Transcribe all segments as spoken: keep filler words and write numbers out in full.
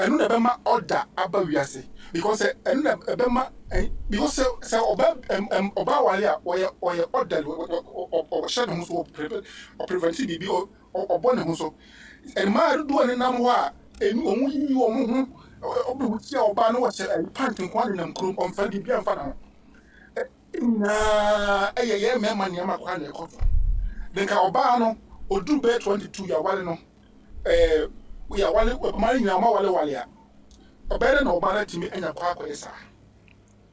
Ɛno na ɛbɛma order aba wiase, because sɛ ɛno na ɛbɛma ɛ because sɛ sɛ ɔba ɛm ɛm ɔba wale a, ɔyɛ ɔyɛ orderly, ɔhyɛ ne ho so, ɔprevent ɔprevent biribi, ɔbɔ ne ho so. Mmaa dodoɔ ne nam hɔ a enu wɔn yiyi wɔn ho, ɔbɛ wuti a ɔbaa no wɔhyɛ ɛyi pant nko ara nenam kurom, ɔnfa biribi anfa ne ho nyinaa. Ɛyɛ yɛn mmarima nneɛma kwan na ɛkɔ so. De nka ɔbaa no oduru bɛyɛ twenty two, yɛawale no, ɛɛ yɛawale mmaa no nyinaa, ɔmo awale wale a, ɔbɛyɛ dɛ na ɔbaa no atumi anya kɔ akɔyɛ saa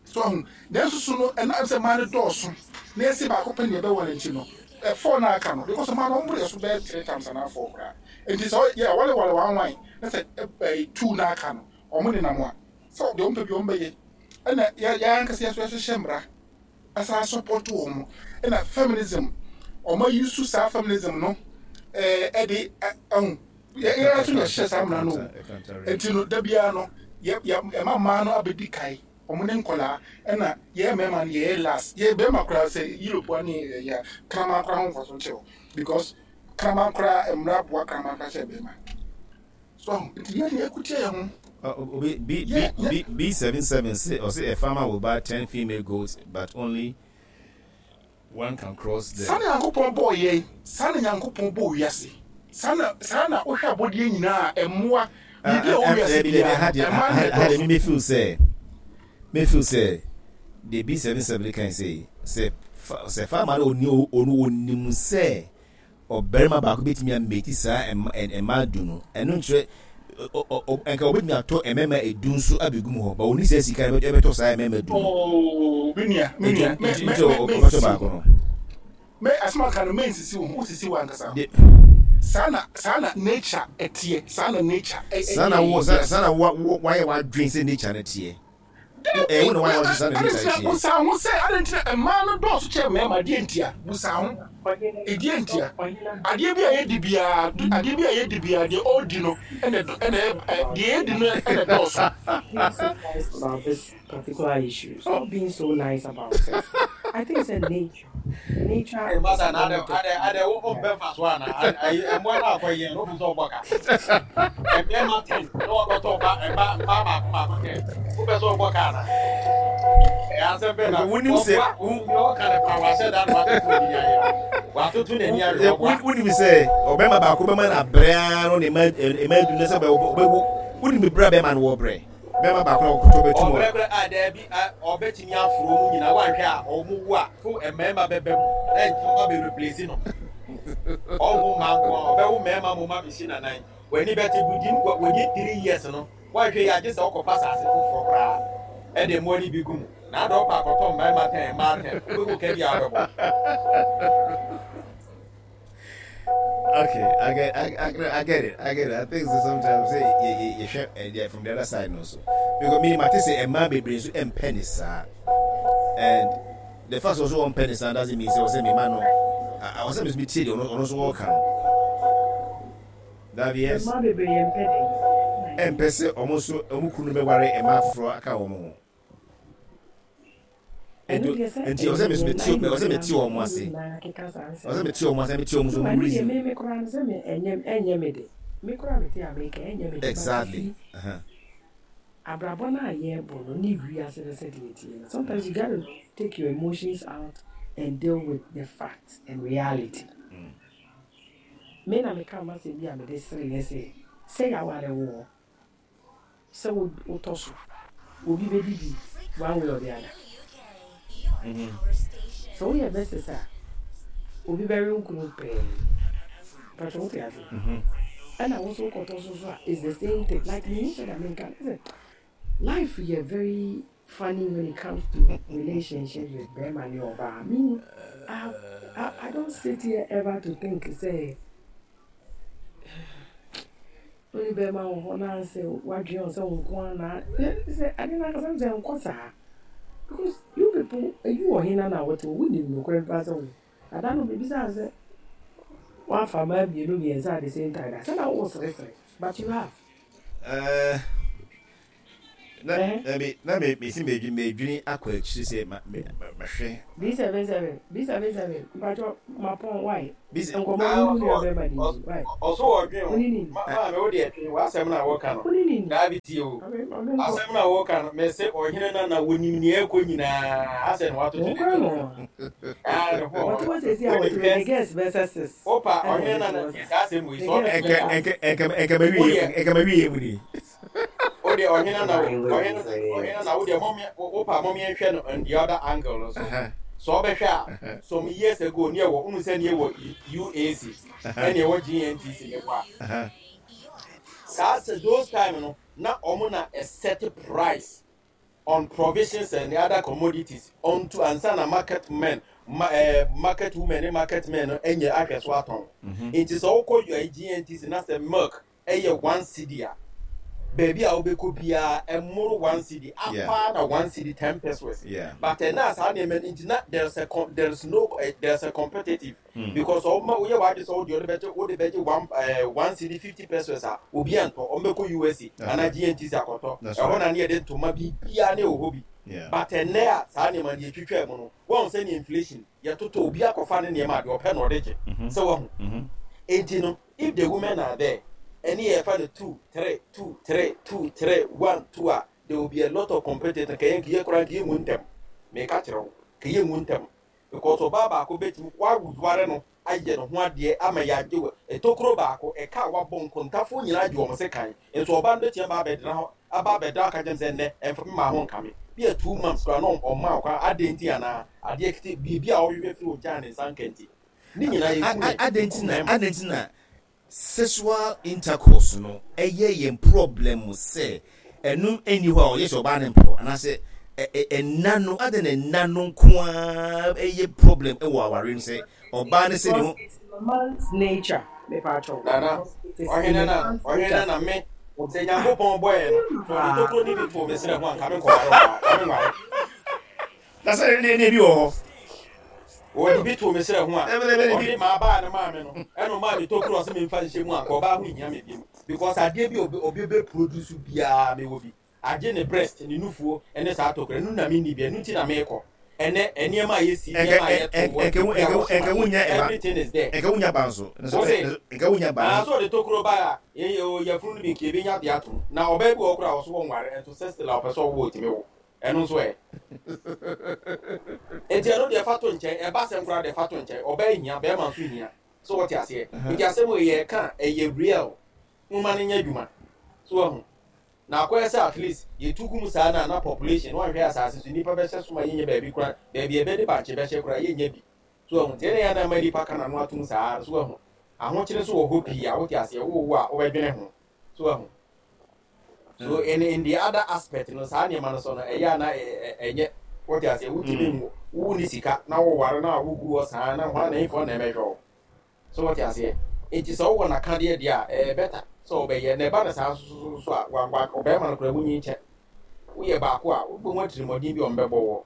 so ahu. Nanso so no, ɛnam sɛ mmaa no dɔɔso na yɛsi baako pɛ na yɛbɛwale nti no, ɛfour na aka no, because mmaa no ɔmo yɛ so bɛyɛ three times anaa four koraa. Nti sɛ yɛ awale wale one one na sɛ ɛɛ two na aka no, ɔmo nenam a, sɛ deɛ ɔmo pɛ bi ɔmo bɛyɛ. Ɛna yɛ yɛn ankasa yɛ so yɛhyehyɛ mmara asa support wɔn. Ɛna feminism, ɔmo ayi so saa feminism no, ɛɛ ɛde ɛho yɛ yɛn nso na yɛhyehyɛ saa mmara no o. Nti no, da biara no, yɛ yɛ ɛma mmaa no abɛdi kae, ɔmo ne nkɔlaa, ɛna yɛ mmarima no yɛyɛ last. Yɛ bɛrima koraa sɛ Europe ne yɛ kraman koraa ho nfa so nkyɛw, because kraman koraa, mmara boa kraman koraa kyɛ bɛrima so ahu. Nti yɛn yɛ kutia yɛn ho. Uh, B, B, B, B, B seven seven say or say a farmer will buy ten female goats, but only one can cross the. Saa na Nyankopɔn bɔɔ yɛn, saa na Nyankopɔn bɔɔ wiase, saa na saa na wohwɛ abɔdeɛ nyinaa, ɛmmoa biribi a ɛwɔ wiase biara, ɛmmaa na ɛdɔɔso. Me feel sɛ me feel sɛ the B seven seven kan say sɛ sɛ farmer no oni onu onim sɛ ɔbarima baako betumi ameti saa mmaa du no, ɛno nkyerɛ nka obetumi atɔ mmarima edu nso abegu mu hɔ, ba oni sɛ sika ɛbɛtɔ saa mmarima du no. Ooo, mi nua, mi nua, mɛ mɛ nti ɔbɛtɔ baako no. Mɛ asoma aka no, mɛ nsisi wo ho, wosisi wo ankasa. Saa na saa na nature ɛteɛ, saa na nature ɛ saa na wo saa na wo wayɛ wadwen sɛ nature no teɛ. Dabi, busa ho sɛ adi nti na mmaa no dɔɔso kyɛ mmarima? Adeɛ ntia, busa ho ɛdeɛ ntia. Adeɛ bi a yɛdi biara, adeɛ bi a yɛdi biara, deɛ ɔredi no ɛna ɛna deɛ yɛdi no ɛna dɔɔso. Being so nice about this particular issue. Stop being so nice about it. I think it's a nature. Nature is Masa na one ade of the ade ade wo wo mpɛ fa so ana ayi ɛmoa no akɔ yɛn no sɛ ɔbɔ ka mmarima ten na wɔkɔtɔ ba ɛba mmaa baako baako ten, wopɛ sɛ ɔbɔ ka ana? Ɛyɛ asɛm bɛɛ na wonim sɛ ɔboa ɔka ne pa wahyɛ da na watoto n'ani ayɛ watoto n'ani ayɛ ɔboa. Wonim sɛ ɔbɛrima baako bɛma no abrɛ ara no ne ma ɛma edu no sɛ ɔbɛwu. Wonim brɛ a bɛrima no wɔ brɛ, bɛrima baako na ɔkɔtɔ bɛtum. Ɔbrɛ brɛ a, daabi, ɔbɛtumi aforo mu nyinaa. Wanhwɛ a, ɔmo wu a fo mmarima bɛbɛ mu na nkyɛn bɛ replace no. Ɔwo mmaa nko a, ɔbɛwo mmarima mo ma bɛsi nanan w'ani bɛte within within three years no. Wanhwɛ yi, agye sɛ ɔkɔpa asase foforɔ koraa ɛde mmoa no bi gu mu na adɔ ɔpa akɔtɔ mmarima ten, mmaa ten, wobɛwu ka bi a wobɛbɔ. Okay, I get, I, I, I get it, I get it. I think so sometimes say you, you, you share uh, from the other side also. Because me, I say a man be so mpɛ ne saa, and the fact also ɔmpɛ ne saa doesn't mean say ɔsɛ me man no. I was saying me tie the ono so wɔka no. That yes. Mmaa bebree yɛ mpɛ den. Ɛmpɛ sɛ ɔmo nso ɔmo kunu bɛware mmaa foforɔ aka wɔn ho. Nti ɔsɛ me me tie, ɔsɛ me tie wɔn ase, ɔsɛ me tie wɔn ase, me tie wɔn so wɔn reason. Me me koraa no sɛ me ɛnyɛ ɛnyɛ me de, me koraa me te America, ɛnyɛ me de. Exactly. Uh-huh. Abrabɔ no a yɛrebɔ no ne wiase no sɛdeɛ ɛteɛ no, sometimes you gotta take your emotions out and deal with the facts and reality. Mm. Me na meka ma sɛ bi a mede sere yɛ sɛ sɛ yɛaware wɔ sɛ wotɔ so, obi bɛdi bi one way or the other. Sɛ woyɛ Mrs a, obi bɛwe wo kunu pɛɛ patro, wote ase? Ɛna wo nso wokɔtɔ so so a, it's the same thing. Like mehu sɛ da menka sɛ life yɛ very funny when it comes to relationships with bɛrima ne ɔbaa. Me, I, I, I don't sit here ever to think sɛ wone bɛrima wɔ hɔ na sɛ wadwene wo sɛ wo nko ara na sɛ ade no ankasa sɛ nkɔ saa, because you people eyi wɔ hena na wɔte wɔ wonim nokorɛ paa sɛ wo ada no biribi sɛ wafa mmaa mmienu mmiɛnsa at the same time da sɛ na wo seresere, but you have Uh, Na na me na me me si me me dwene akɔ akyiri sɛ ma me mahwɛ. B seven seven B seven seven mpatwɔ mapɔn why B se nkɔmɔ Ah, wo ɔso nua wɔ bɛrima de nti why ɔso ɔdwen wo ho. ne ni Ma maame wo deɛ twe w'asɛm no a wɔka no. wo ne ni ni Daabi tie o. ame ame nkɔ Asɛm no a wɔka no mɛsɛ ɔhene no na wɔnim nea ɛkɔ nyinaa asɛ na watoto wɔn ne kora to. no Ah, ne ho wɔte ɔhɔ. hɔ sɛsi a Wonim wɔte hɔ hwɛ ne girls bɛsɛ six wopa ɛna ɔhene wɔde no te na hɔ tie saa saa asɛm wei ne sɛ girls ɔbɛtumi Ɛnkɛ bɛsɛ a ɛnkɛ six ɛnkɛ ɛnkɛ ma wo wie deɛ ɛnkɛ ma wie mu ni. wo deɛ ɔhene na Why would ɔhene you say ɔhene na wo deɛ mɔmea wopa mɔmea nhwɛ no on the other angle no so. Aha. Sɛ ɔbɛhwɛ a some years ago ne ɛwɔ wohu sɛ ne ɛwɔ U A C Aha. ɛne ɛwɔ G N T C ne hɔ a Aha. saa sɛ those time no na ɔmo na a set price on provisions and the other commodities onto ansa na market men ma, eh, market women ne market men no ɛnyɛ ahwɛ so atɔn. Nti sɛ wokɔ yɛ G N T C na sɛ milk ɛyɛ one cedi a, baabi a wobɛkɔ biara ɛmoro one cedi Yeah. apaa na one cedi ten pesewas. Yeah. But ɛna saa nneɛma no nti na there's a com there's no uh, there's a competitive Mm. because ɔma woyɛ w'ade sɛ wode ɔde bɛgye wode bɛgye one uh, one cedi fifty pesewas a, obi antɔ, ɔmbɛkɔ U S A That's anaa right. G N T C akɔtɔ. That's Ɛhɔ right. na ne yɛde ntoma biribiara ne ɛwɔ hɔ bi. Yeah. But ɛnɛ a saa nneɛma no yɛtwitwa mu no, wɔn sɛ ne inflation yɛtotɔ, obi akɔfa ne nneɛma a deɛ ɔpɛ na ɔde gye sɛ wɔho. Mhm. Enti no if the women are there ɛne yɛfa no two three two three two three one two a, there will be a lot of competitors. Kɛyɛ nkiyɛ koraa nkiyɛ mu ntɛm mɛka kyerɛ wo kɛyɛ mu ntɛm because ɔbaa baako bɛtumi waware no ayɛ ne ho adeɛ ama yɛagye wɔ etokuro baako ɛka a wabɔ nkontafoɔ nyinaa gye wɔn se kan nso ɔbaa no bɛtumi aba abɛdena hɔ aba abɛda aka kyɛn sɛ nnɛ ɛmfa mi maa ho nkame bi yɛ two months koraa na ɔma ɔkwan adeɛ nti anaa adeɛ kete biribi a ɔhwehwɛ firi ogya ne nsa nka nti ne nyinaa yɛ ku Adɛn nti na mmarima. Adɛn nti na sexual intercourse no ɛyɛ yɛn problem sɛ ɛno ɛnni hɔ a ɔyɛ sɛ ɔbaa ne mpɔ anaasɛ ɛ- ɛ- ɛna no adɛn na ɛna no nko ara ɛyɛ problem ɛwɔ aware no sɛ ɔbaa ne sɛ ne because ho it's in a man's nature, mepatwɔ. Nana Because it is ɔhene in a na man's ɔhene nature. na me sɛ Nyankopɔn bɔɛ no sɛ ɔde tokuro ne bi to me serɛ ho a, nka me nkɔware ɔbaa ka me nware. Na sɛ ne ne bi wɔ hɔ. Wɔde bi to me serɛ ho a Ɛbɛ- ɛbɛ- ɛbɛ- ɔde maa baa ne maa me no ɛna ɔmaa me tokuro ɔsɛ memfa nhyɛ mu a, nka ɔbaa ho nhia me biom because adeɛ bi a obi obi bɛ produce biara mewɔ bi agye ne breast ne nufuo ɛne saa tokuro ɛno na menni bi. Ɛno nti na meekɔ ɛnɛ nneɛma a yɛsi ɛnkɛ nneɛma a yɛto wɔ ɛnkɛ ɛnkɛ ɛnkɛ wunya ɛba. Everything is there. Ɛnkɛ wunya ba nso. Wo se? Ɛnkɛ wunya ba Na nso. so ɔde tokuro ba a yɛ yɛfunu no bi nka ebenya de ato mu na ɔbaa bi wɔ kora a ɔso wɔ nware nso sɛ still a ɔpɛ sɛ ɔwɔ otimi wo ɛno nso ɛ nti ɛno deɛ fa to nkyɛn. Ɛba sɛm koraa deɛ fa to nkyɛn. Ɔbaa hia, bɛrima nso hia so wɔte aseɛ. Nti asɛm wɔ yɛ ka ɛyɛ real nwoma no nyɛ adwuma so wahu na akɔyɛ sɛ at least yɛtu gu mu saa na na population wɔnhwɛ asase so nipa bɛhyɛ so ma yɛnyɛ baabi koraa baabi ɛbɛde bankye bɛhyɛ koraa yɛnyɛ bi so wahu. Nti ɛna yɛ anam nipa ka n'ano atom saa so wahu. Ahokyere so wɔ hɔ pii a wote aseɛ wowo a wobɛdwene ho so wahu. So in in the other aspect no saa nneɛma no so no ɛyɛ ana ɛnyɛ wote aseɛ wotumi nwo wo ne sika na woware na wogu hɔ saa na hwan na ɛmfɔ na ɛmɛhwɛ wo so wote aseɛ. Nti sɛ wowɔ n'akadeɛ deɛ a ɛyɛ better sɛ wobɛyɛ na ɛba no saa so so so a wa wa ɔbɛrima no koraa wonyi nkyɛ woyɛ baako a wobɛhu atirimɔden bi a ɔmbɛbɔ wɔ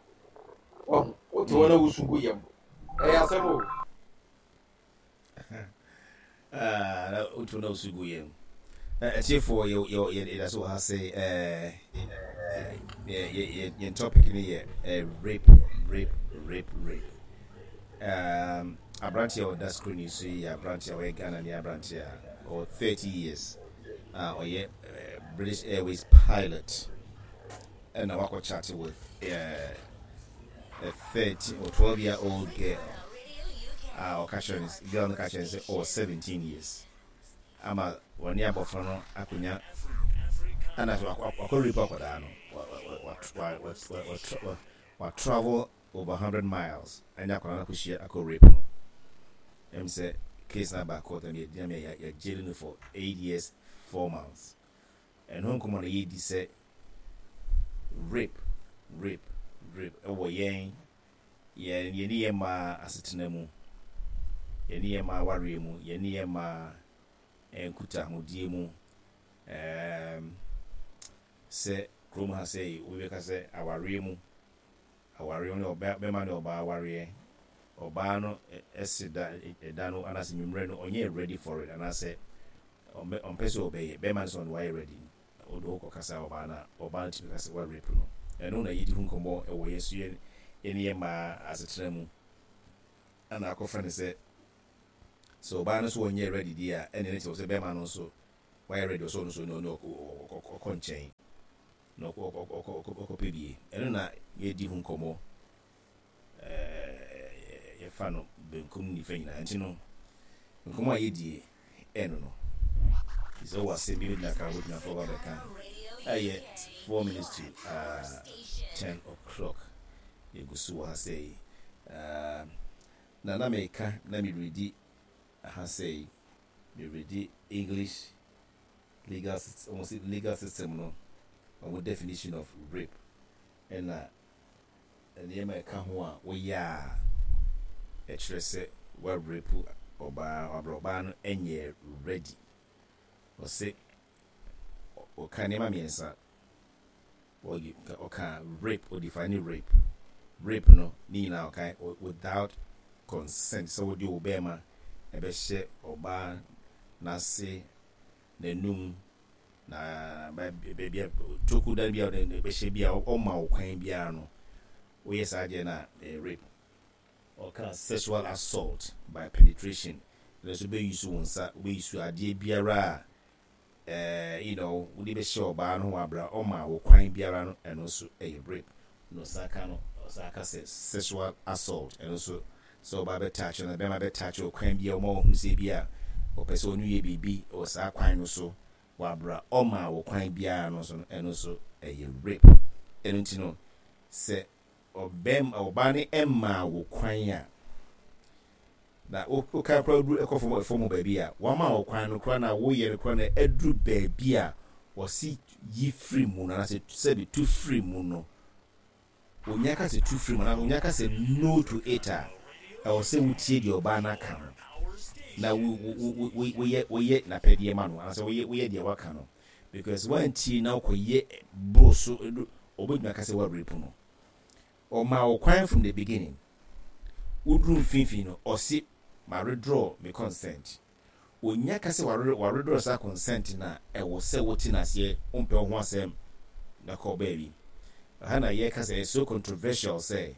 ɔho wote hɔ na wosu gu yam ɛyɛ asɛm o. Ah, na wotu na wosu gu yam. Atiefoɔ, yɛ yɛ yɛ yɛda so wɔ ha sɛ ɛɛ yɛ yɛ yɛ yɛn topic no yɛ ɛɛ rape, rape, rape, rape. um, aberanteɛ a ɔda screen yi so yi yɛ aberanteɛ a ɔyɛ Ghana ne aberanteɛ a ɔwɔ thirty years a ɔyɛ eh, British Airways pilot ɛna wakɔ chat with uh, a thirteen or twelve year old girl a ɔka kyerɛ no girl no ka kyerɛ no sɛ ɔwɔ seventeen years ama wɔne abɔfra no akonnwa ana so wakɔ rape akwadaa no wa wa wa wa wa wa wa travel over hundred miles ɛne akwadaa no akɔhyia akɔ rape no. Ɛm sɛ case na ba court ɛm yɛ yɛ yɛ jail no for eight years four months. Ɛno nkɔmɔ no yɛdi sɛ rape, rape, rape ɛwɔ yɛn yɛn yɛne yɛn mmaa asetena mu, yɛne yɛn mmaa awareɛ mu, yɛne yɛn mmaa nkutahodie mu. ɛɛm sɛ kurom ha sɛ obi bɛka sɛ awareɛ mu awareɛ ne ɔbaa bɛrima ne ɔbaa awareɛ ɔbaa no ɛsi da ɛda no anaasɛ nwummerɛ no ɔnyɛ ready for it anaasɛ ɔmpɛ ɔmpɛ sɛ ɔbɛyɛ bɛrima no sɛ ɔno wayɛ ready. Wode wo kɔkasa ɔbaa no a, ɔbaa no tumi ka sɛ woarape no. Ɛno na yɛdi ho nkɔmmɔ ɛwɔ yɛn so yɛn yɛne yɛn mmaa asetena mu. Ɛna akɔfa no sɛ sɛ ɔbaa no nso wɔnyɛ ready deɛ a, ɛne ne kyerɛ sɛ bɛrima no nso wayɛ ready, ɔsɛ ɔno nso ɔno ɔkɔ nkyɛn na ɔkɔpɛ bie. Ɛno na yɛdi ho nkɔmmɔ, ɛɛ yɛfa no benkum, nifa nyinaa. Nti no nkɔmmɔ a yɛdie ɛno no sɛ wɔ asɛm bi bɛgyina ka wobɛgyina fɔ ba bɛka. Ɛyɛ four minutes to uh, ten o'clock. Yɛgu so wɔ ha sɛ yi uh, na na meka na meredi ha sɛ yi meredi English legal almost legal system no, ɔmo definition of rape ɛna nneɛma ɛka ho a woyɛ a ɛkyerɛ sɛ woarape ɔbaa, ɔbrɛ ɔbaa no ɛnyɛ ready. Ɔsɛ ɔka nneɛma mmiɛnsa. Ɔka rape, ɔdefine rape. Rape no ne nyinaa ɔka without consent, sɛ wode wo bɛrima ɛbɛhyɛ ɔbaa n'ase, n'anum, na baabi a toku dan bi a bɛhyɛ bi a ɔma wo kwan biara no, woyɛ saa deɛ no a, ɛyɛ rape. Ɔka sexual assault by penetration. Ɛno nso wobɛyi so wo nsa, wobɛyi so adeɛ biara a ɛɛ you know wode bɛhyɛ ɔbaa no ho abra ɔma wo kwan biara no, ɛno nso ɛyɛ rape. Na ɔsan ka no, ɔsan ka sɛ sexual assault, ɛno nso sɛ ɔbaa bɛtaakye no, bɛrima bɛtaakye ɔkwan bi a ɔma ɔhu sɛ bi a ɔpɛ sɛ ɔno yɛ biribi wɔ saa kwan no so wabra ɔma wo kwan biara no nso no, ɛno nso ɛyɛ rape. Ɛno nti no sɛ ɔbɛm ɔbaa no ɛma wo kwan a na woka koraa duru ɛkɔ fam fam baabi a wama wo kwan no koraa na woyɛ no koraa na ɛduru baabi a wɔsi yi firi mu no, anaasɛ sɛbi tu firi mu no, onya ka sɛ tu firi mu anaasɛ onya ka sɛ no to it a, ɛwɔ sɛ wotie deɛ ɔbaa no aka no na wo wo wo woyɛ woyɛ n'apɛdeɛ ma no, anaasɛ woyɛ woyɛ deɛ waka no, because wantie na wokɔyɛ boro so, ɔbɛtumi aka sɛ woarape no. Ɔma wo kwan from the beginning, woduru mfimfini no, ɔsi ma withdraw me consent. Onya ka sɛ wawithdraw saa consent na ɛwɔ sɛ wote n'aseɛ, wompɛ wo ho asɛm na kɔ baabi. Ɛha na yɛka sɛ it's so controversial sɛ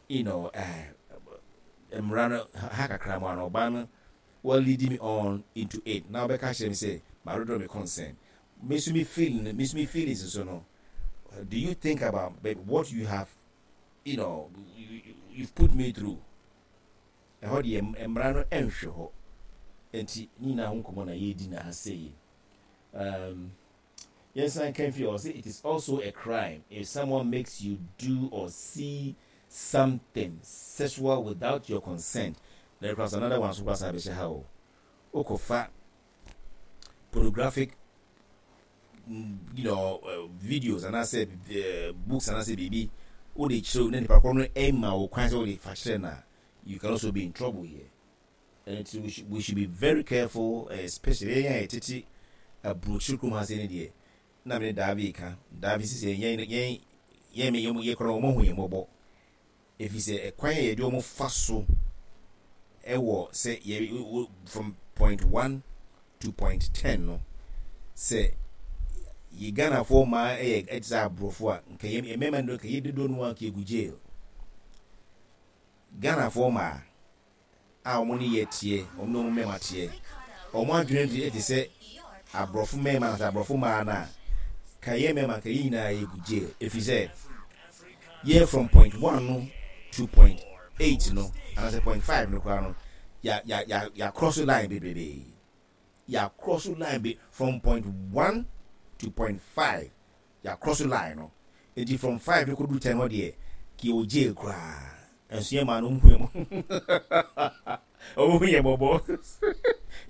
you know uh, mmara no ha kakra mu ano, ɔbaa no well leading me on into it na wobɛka kyerɛ me sɛ ma withdraw me consent, me nso me feeling, me nso me feelings so no, do you think about what you have you know you, you've put me through? Ɛhɔ deɛ mmara no ɛnhwɛ hɔ. Nti ne nyinaa ho nkɔmmɔ na yɛredi na ha sei. um, yɛnsan kan fi. Ɔsɛ it is also a crime if someone makes you do or see something sexual without your consent. There is another one so kora saa bɛhyɛ ha o. Wokɔfa pornographic you know uh, videos anaasɛ uh, books anaasɛ biribi wode kyerɛw na nipa korɔ no ɛma wo kwan sɛ wode fa kyerɛ no a, you can also be in trouble here. And we should, we should be very careful, uh, especially yɛn a yɛtete aburokyiri kurom ha sɛ ne deɛ na mene daabi ka daabi sisi yɛn yɛn yɛn yɛn yɛ korɔ wɔn ho yɛn mmɔbɔ, efi sɛ ɛkwan a yɛde wɔn fa so ɛwɔ sɛ yɛ from point one to point ten no, sɛ yɛ Ghanafoɔ mmaa ɛyɛ ɛte sɛ aborɔfo a, nka yɛ mmarima no nka yɛ dodoɔ no a nka yɛgu jail. Ghanafoɔ mmaa a wɔn ne yɛ teɛ, wɔn ne wɔn mmarima teɛ, wɔn adwene de ɛte sɛ aborɔfo mmarima na sɛ aborɔfo mmaa no a, ka yɛ mmarima nka yɛ nyinaa yɛgu jail, efi sɛ yɛ from point one no to point eight no anaasɛ point five no koraa no, yà yà yà yà cross line bebrebe. Yà cross line be from point one to point five, yà cross line no. Eti from five no kɔdu ten hɔ deɛ, kì í jail koraa. Nso yɛ maa no ɔmo hu yɛ mo ɔmo hu yɛ bɔbɔ,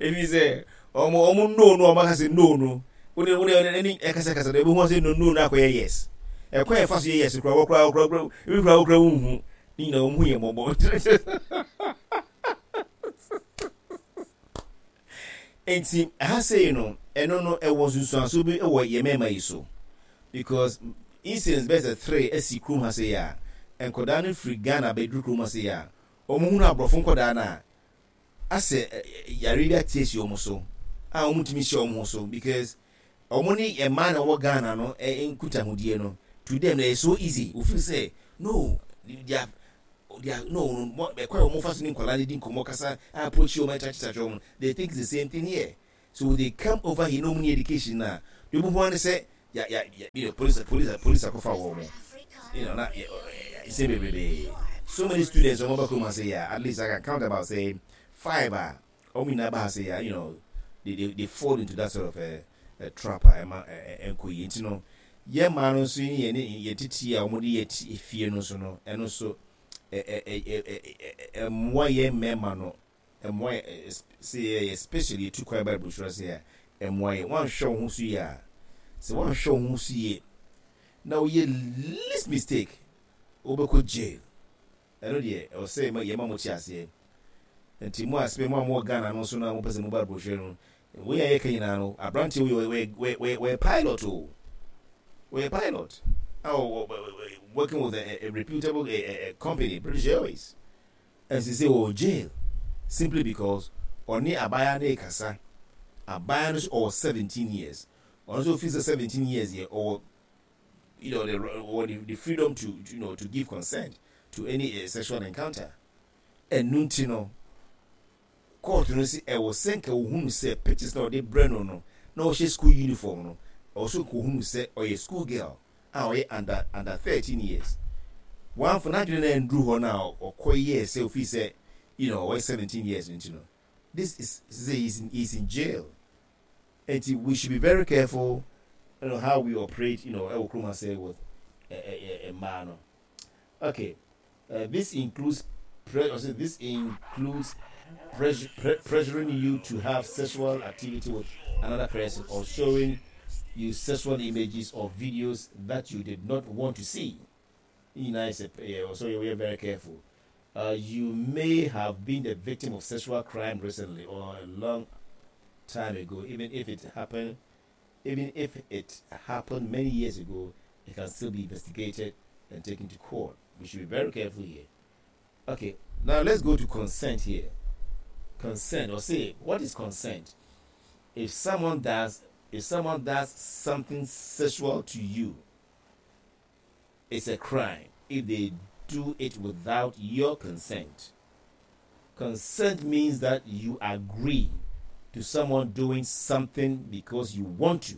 efi sɛ ɔmo ɔmo no no ɔmo aka sɛ no no wode wode ɛni ɛkasakasa na ebi hu sɛ no no no akɔyɛ yes. Ɛkwan yɛ fa so yɛ yes kura wɔkura wɔkura ebi kura wɔkura wɔnhu ne nyinaa, ɔmo hu yɛ bɔbɔ. Nti ɛha sei no, ɛno no ɛwɔ nsunsuanso bi ɛwɔ yɛ mmarima yi so, because incidents bɛyɛ sɛ three asi kurom ha sei a nkɔdaa no firi Ghana bɛduru kurom ha sei a wɔn hunu aborɔfo nkɔdaa no a asɛ yare bi ate asi wɔn so a wɔn ntumi hyɛ wɔn ho so, because Ɔmo ne mmaa na ɛwɔ Ghana no nkutahodie no, to them it's so easy. Ofeel sɛ no, they are they are no no ɛkwan a wɔn fa so ne nkwadaa no di nkɔmɔ kasa, approach wɔn, ɛkyakyekyakye wɔn, they think it's the same thing here. So they come over here na wɔn ni education na deɛ wɔn ho ano sɛ ya ya ya you know police police police akɔfa wɔn, you know na nsɛm bebree. So many students wɔn ba kurom ase ya, at least I can count about say five a wɔn nyinaa ba ha sɛ ya, you know they they they fall into that sort of a, a trap a ɛma ɛnkɔ yie. Nti no yɛn mmaa no nso yɛn ne yɛn titi a wɔde yɛ ti efie no nso no, ɛno nso ɛ ɛ ɛ ɛ ɛmmoa yɛn mmarima no, ɛmmoa yɛ sɛ yɛ, especially yɛtu kwan ba aburokyerɛ sɛ a ɛmmoa yɛn. Wɔanhwɛ wɔn ho so yie a, sɛ wɔanhwɛ wɔn ho so yie na woyɛ least mistake, wobɛkɔ jail. Ɛno deɛ ɛwɔ sɛ yɛma mo te aseɛ. Nti mo asɛm mo a mowɔ Ghana no nso na mopɛ sɛ moba aburokyerɛ no, wei a yɛka nyinaa no, aberanteɛ wei wɔyɛ wɔyɛ wɔyɛ pilot o, wɔyɛ pilot a working with a, a reputable a, a, a company, British Airways, and sɛ wɔ jail simply because ɔne abaayewa no kasa. Abaayewa no nso ɔwɔ seventeen years. Ɔno nso fi sɛ seventeen years yɛ ɔwɔ you know the or the, the freedom to you know to give consent to any uh, sexual encounter. Ɛnu nti no court no si ɛwɔ sɛ nka ohunu sɛ pictures na ɔde brɛ no no na ɔhyɛ school uniform no, ɔwɔ so nka ohunu sɛ ɔyɛ school girl a ɔyɛ under under thirteen years. Wɔn afɔ n'adwene na nduru hɔ na ɔkɔ yɛ sɛ ofi sɛ you know ɔyɛ seventeen years. Nti no this is say he's in, he's in jail. Nti we should be very careful you know how we operate you know ɛwɔ kurom ase with mmaa no. Okay, uh, this includes pre this includes pressure, pre pressuring you to have sexual activity with another person or showing you sexual images or videos that you did not want to see. You know, so we are very careful. Uh, you may have been the victim of sexual crime recently or a long time ago. Even if it happened, even if it happened many years ago, it can still be investigated and taken to court. We should be very careful here. Okay, now let's go to consent here. Consent, or say, what is consent? If someone does, if someone does something sexual to you, it's a crime if they do it without your consent. Consent means that you agree to someone doing something because you want to.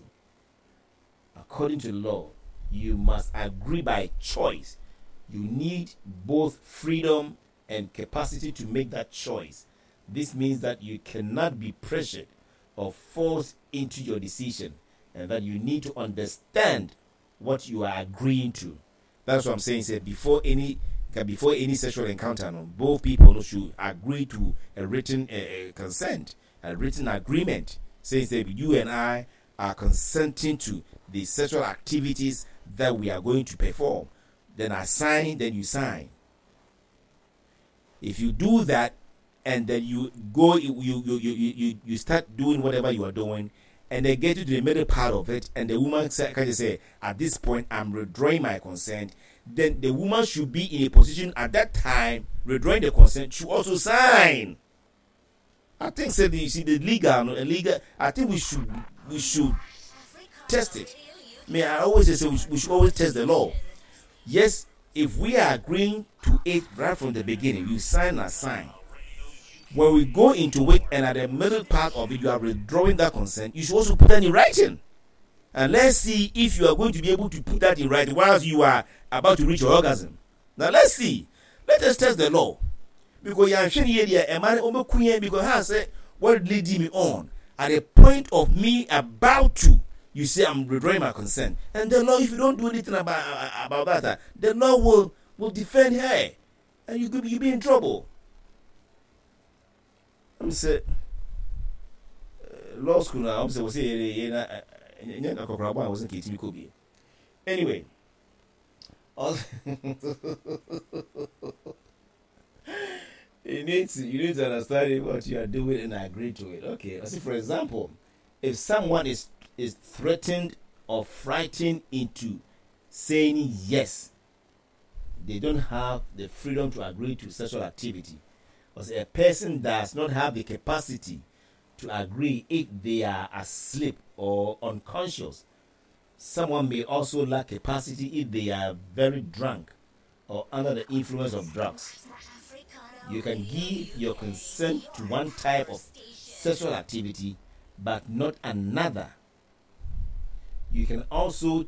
According to law, you must agree by choice. You need both freedom and capacity to make that choice. This means that you cannot be pressured or forced into your decision, and that you need to understand what you are agreeing to. That's what I'm saying. Say before any before any sexual encounter, no, both people should agree to a written uh, consent, a written agreement, saying that you and I are consenting to the sexual activities that we are going to perform. Then I sign, then you sign. If you do that, and then you go, you you you you you, you start doing whatever you are doing, and they get you to the middle part of it, and the woman say, can you say, at this point I'm withdrawing my consent. Then the woman should be in a position at that time withdrawing the consent should also sign. I think say the, you see the legal, no, legal. I think we should we should test it. May I always say we, we should always test the law. Yes, if we are agreeing to it right from the beginning, you sign a sign. When we go into it and at the middle part of it, you are withdrawing that consent, you should also put that in writing. And let's see if you are going to be able to put that in writing whilst you are about to reach your orgasm. Now let's see. Let us test the law. Because you are here, a man because I said, what lead me on? At the point of me about to, you say I'm withdrawing my consent. And the law, if you don't do anything about, about that, the law will, will defend her. And you could be, you'll be in trouble. I'm say uh, law school now. I'm say we say I wasn't Anyway, you need to you need to understand what you are doing and agree to it. Okay. I see. For example, if someone is is threatened or frightened into saying yes, they don't have the freedom to agree to sexual activity. Because a person does not have the capacity to agree if they are asleep or unconscious. Someone may also lack capacity if they are very drunk or under the influence of drugs. You can give your consent to one type of sexual activity but not another. You can also